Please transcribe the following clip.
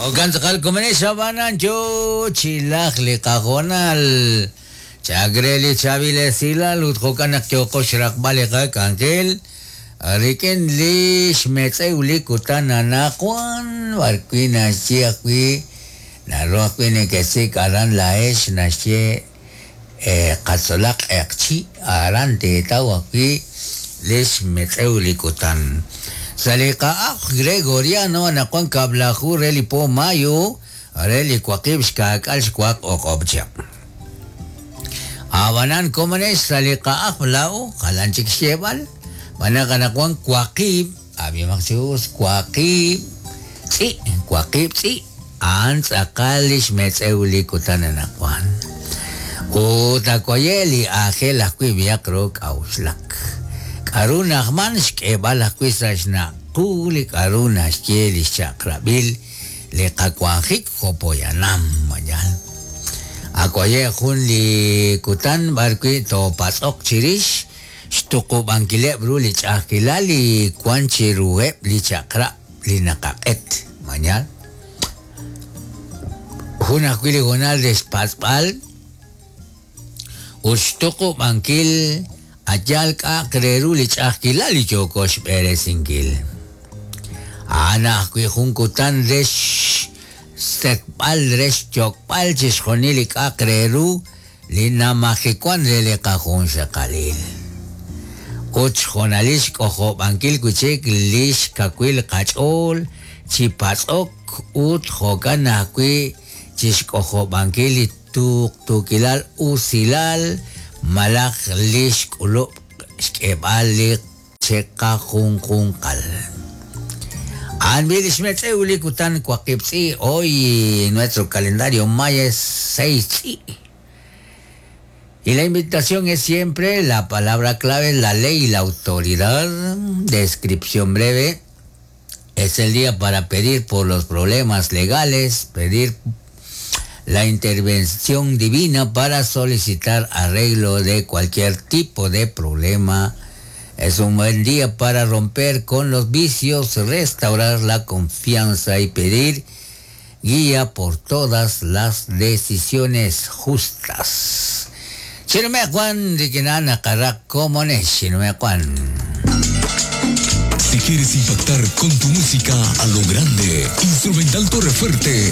Jo'kan tz'aqal komonex ab'anan yo chi lajk li qahoonal chak re li chaab'il esilal ut jo'kan naq yooqo xraqb'al li qak'anjel rik'in li xmetz'ew li kutan anaqwan b'arwi' naxye ajwi' naru ajwi' nekesik' aran laa'ex naxye qatzolaq q'eqchi' aran teetaw ajwi' li xmetz'ew li kutan. Sa' li qa'ajl Gregoriano anaqwan kab'laju re li po mayo re li waqib' xkaak'al xwaq o'q'ob' chihab'. Ab'anan komonex sa' li qa'ajl laa'o jalan chik xyeeb'al, xb'aan naq anaqwan waqib', ab'imaq chi us, waqib' tz'i', waqib' tz'i', a'an tz'aqal li xmetz'ew li kutan anaqwan. Ut awaye' li aajel ajwi' b'ihaq ru k'a'uxlak. K'a'ru na'ajman xk'eeb'al ajwi' sa' xnaq' qu li k'a'ru naxye li xchaq'rab'il li qawanjik jo' poyanam, mayal. Awaye' jun li kutan b'arwi' toopatz'oq chirix xtuqub'ankileb' ru li ch'a'ajkilal li wan chiruheb' li chaq'rab' li naqaq'et, mañal. Jun ajwi' li hoonal re xpatz'b'al ut xtuqub'ankil a' yaal k'a'aq re ru li ch'a'ajkilal li yooko xb'eresinkil. A'an ajwi' jun kutan re xsetb'al re xyok'b'al chixjunil li k'a'aq re ru li namajewan re li qajunxaqalil. Ut xhoonalil xk'ojob'ankil wi' chik li xkawil qach'ool chi patz'ok ut jo'kan ajwi' chi xk'ojob'ankil li tuqtuukilal usilal malaj li xk'ulub' xk'eb'al li chiqajunjunqal. A'an b'i' li xmetz'ew li kutan waqib' tz'i' hoy nuestro calendario maya es 6 tz'i'. Y la invitación es siempre la palabra clave, la ley y la autoridad. Descripción breve. Es el día para pedir por los problemas legales, pedir la intervención divina para solicitar arreglo de cualquier tipo de problema. Es un buen día para romper con los vicios, restaurar la confianza y pedir guía por todas las decisiones justas. Juan Si quieres impactar con tu música a lo grande, Instrumental Torrefuerte.